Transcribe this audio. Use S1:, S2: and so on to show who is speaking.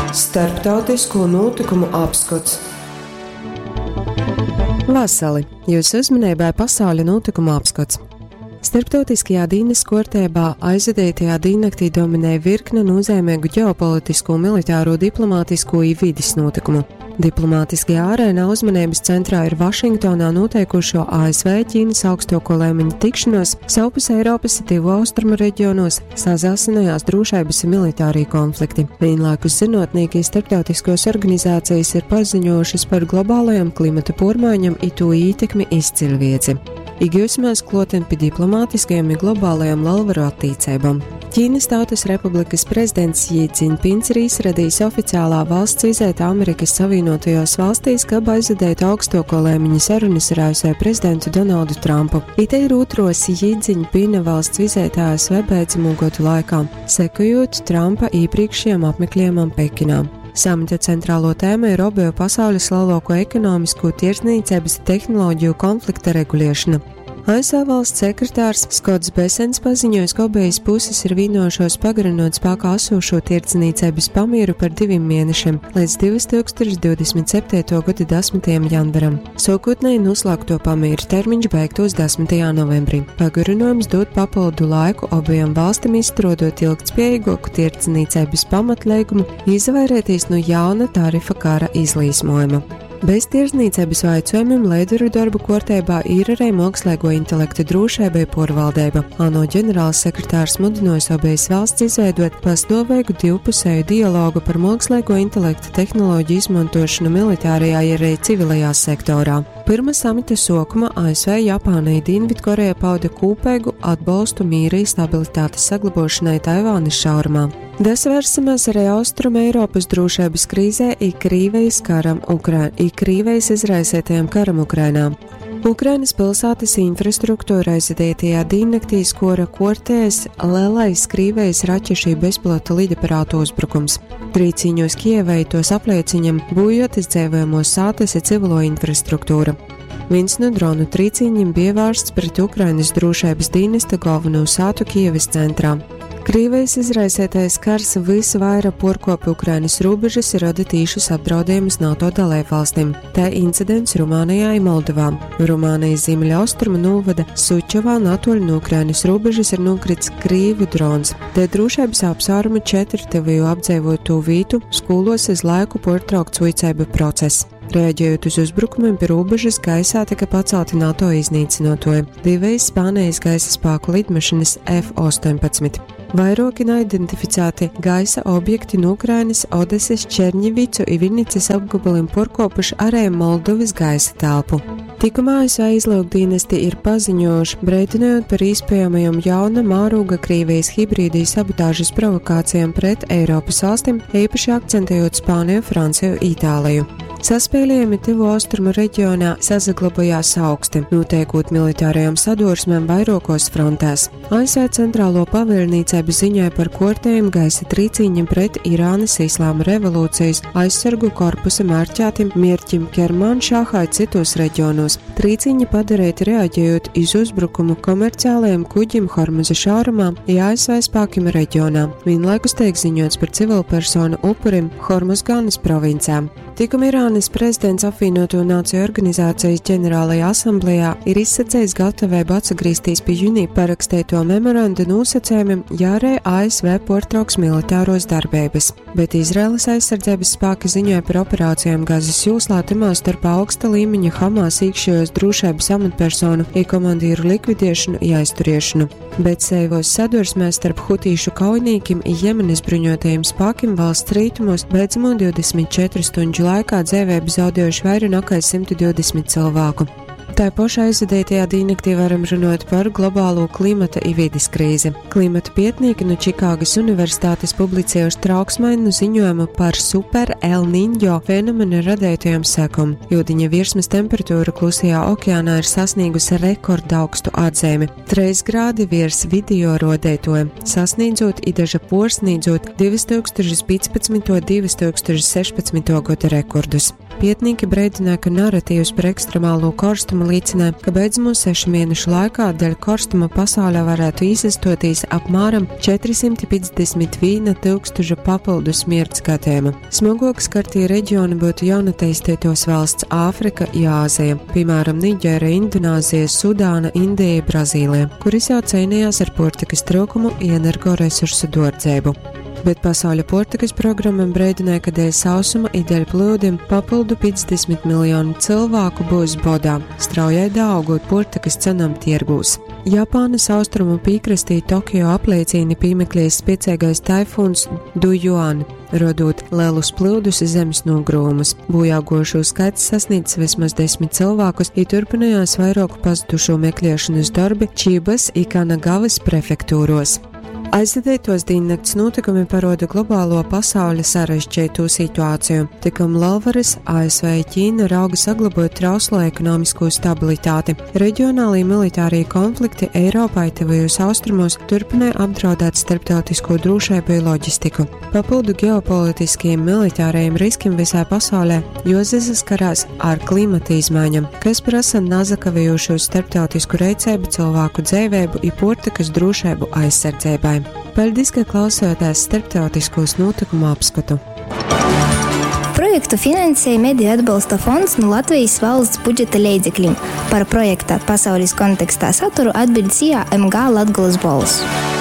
S1: Starptautisko nūtykumu apskots. Vasali! Jūsu uzmanībai pasauļa nūtykumu apskots. Starptautiskajā dīnas kuortībā aizvadītajā dīnnaktī dominēja virkne nozīmīgu ģeopolitisko, militāro, diplomātisko i vides notikumu. Diplomātiskajā arēnā uzmanības centrā ir Vašingtonā notiekušo ASV Ķīnas augstāko līmeņa tikšanos, savpus Eiropas Tuvo Austrumu reģionos sasāsinājās drošības un militārie konflikti. Vienlaikus zinātnieki starptautiskos organizācijas ir paziņojušas par globālajām klimata pormaiņām i to ietekmi izcilvieci. Iegūsimies kloten pie diplomātiskajām un globālajām lalvaru attīcībām. Ķīnas Tautas Republikas prezidents Jī Dzinpins ir izradījis oficiālā valsts vizēta Amerikas Savienotajos valstīs, kab aizvadītu augstāko līmeņa sarunas ar ASV prezidentu Donaldu Trumpu. Ite ir otros Jī Dzinpina valsts vizēta ASV beidzamo gadu laikā, sekojot Trumpa iepriekšējam apmeklējumam Pekinā. Samita centrālo tēmu ir obeju pasaules lielāko ekonomisko tirdzniecības tehnoloģiju konflikta regulēšana. ASV valsts sekretārs Skots Besens paziņojis, ka abejas puses ir vienojušos pagarinot spēkā esošo tirdzniecības pamieru par 2 mēnešiem līdz 2027. gada 10. janvaram. Sākotnēji noslēgto pamieru termiņš beigtos 10. novembrī. Pagarinājums dod papildu laiku abajām valstīm izstrādot ilgtspējīgāku tirdzniecības pamatlīgumu, izvairīties no jauna tarifa kara izlīsmojuma. Bez tirdzniecības jautājumiem līderu darbu kārtībā ir arī mākslīgo intelektu drošība un pārvaldība. ANO ģenerālsekretārs mudinājis abejas valsts izveidot pastāvīgu divpusēju dialogu par mākslīgo intelektu tehnoloģiju izmantošanu militārajā ja arī civilajā sektorā. Pirma samita sākuma ASV, Japāna un Dienvidkoreja pauda kopīgu atbalstu mīra un stabilitātes saglabāšanai Taivānas šaurumā. Desvērsimies arī Austrum Eiropas drošības krīzē i Krīvijas karam Ukra i Krīvijas izraisītajam karam Ukrainā. Ukrainas pilsētas infrastruktūra aizvadītajā diennaktī skora kortēs lielais Krīvijas raķešu bezpilota lidaparātu uzbrukums. Trīciņos Kievai tos aplieciņam būjotas dzīvojamos sātas i civilo infrastruktūra. Viens no dronu trīciņiem bija vērsts pret Ukrainas drošības dienesta galveno sātu Kievas centrā. Krīvijas izraisītais kars visvairāk porkopa Ukrainas robežas ir rada tīšus apdraudējumus NATO dalībvalstīm. Tā incidents Rumānijā un Moldovā. Rumānijas ziemeļaustrumu novada Sučovā natoļ no Ukrainas robežas ir nokrits Krīvu drons. Te drošības apsvērumu 4 teviju apdzīvoto vītu skolos uz laiku portraukts vicēba process. Reaģējot uz uzbrukumiem pie robežas, gaisā tika pacelti NATO iznīcinotoji - divas Spānijas gaisa spēku lidmašīnas F-18. Vairāki neidentificēti gaisa objekti no Ukrainas, Odeses, Černivicu un Vinnicas apgabaliem porkopuši arī Moldovas gaisa telpu. Tikumā ASV izlūkdienesti ir paziņojuši, brīdinājot par iespējamajām jauna mēroga Krievijas hibrīdī sabotāžas provokācijām pret Eiropas valstīm, īpaši akcentējot Spāniju, Franciju, Itāliju. Saspēlējumi Tuvo Austrumu reģionā sasaglabājās augsti, notiekot militārajām sadursmēm vairākos frontēs. ASV centrālo pavēlniecību ziņoja par kortējiem gaisa trīciņiem pret Irānas Islāma revolūcijas aizsargu korpusa mērķētim mierķim Kermanšāhā citos reģionos. Trīciņi padarīti reaģējot iz uzbrukumu komerciālajiem kuģim Hormuza šaurumā i ASV spēkiem reģionā. Vienlaikus tiek ziņots par civilpersonu upurim Hormuzgānas provincē. Tikuma Irānas prezidents apvienoto nāciju organizācijas ģenerālajā asamblējā ir izsacījis gatavību atgriezties pie jūnija parakstīto memorandu nosacījumiem, ja arī ASV portrauks militāros darbības. Bet Izraēlas aizsardzības spēki ziņoja par operācijām Gazas jūslā, timā starp augsta līmeņa Hamas iekšējos drošības amatpersonu i komandīru likvidēšanu i aizturiešanu. Bet seivos sadursmēs starp hutīšu kaujinīkim i Jemenas bruņotajiem spēkiem valsts rietumos beidzamo 24 stundžu laikā dzīvību zaudējuši vairāk nekā 120 cilvēku. Tā pašā aizvadītajā diennaktī varam runāt par globālo klimata i vides krīzi. Klimata pētnieki no Čikāgas Universitātes publicējuši trauksmainu ziņojumu par super El Niño fenomena radītajām sekām. Jūdiņa virsmas temperatūra Klusajā okeānā ir sasniegusi rekordaugstu atzīmi - 3 grādi virs video rodētoja, sasniedzot i daža porsniedzot 2015. un 2016. gada rekordus. Pietnīki breidināja, ka naratīvs par ekstremālo korstumu līcināja, ka beidzamo 6 mēnešu laikā dēļ korstuma pasaulē varētu īsastotīs apmēram 451 tūkstoša papildu smirts gadījuma. Smagāk skartie reģioni būtu jaunatīstītos valsts Āfrika i Āzija, piemēram, Niģēra, Indonāzija, Sudāna, Indija, Brazīlija, kuris jau cīnījās ar puortikas trūkumu i energoresursu duordzeibu. Bet Pasauļa puortykas programa breidināja, ka dēļ sausuma i dēļ plūdim papildu 50 miljonu cilvēku būs bodā, straujai daaugot puortykas cenam tiergūs. Japānas austrumu pīkrastī Tokio apleicīni pīmeklējis spieceigais taifūns Dujuan, rodot lielus plūdus i zemes nogrūmus. Bojāgojušū skaits sasniedz vismaz 10 cilvēkus, i turpinājās vairuoku pazudušo mekliešonys dorbi Čibas i Kanagavas prefektūruos. Aizvadītuos dīnnakts nūtykumi paruoda globālo pasauļa sarežģeitū situāciju. Tikom lelvarys ASV i Ķīna rauga saglobuot trauslo ekonomiskū stabilitāti. Reģionālī militārī konflikti Eiropā i Tyvajūs Austrumos turpynoj apdraudēt starptautiskū drūšeibu i loģistiku. Papyldu geopolitiskajim militārajim riskim vysā pasaulē juosasaskarās ar klimata izmaiņom, kas prasa nasakavejūšu starptautisku reiceibu cylvāku dzeiveibu i puortykys drūšeibu aizsardzeibai. Paļdis, ka klausojatēs starptautiskūs nūtykumu apskotu.
S2: Projektu finansej Mediju atbalsta fonds nu Latvejis valsts budžeta leidzeklim. Par projekta Pasaulis kontekstā saturu atbiļd SIA MG Latgolys Bolss.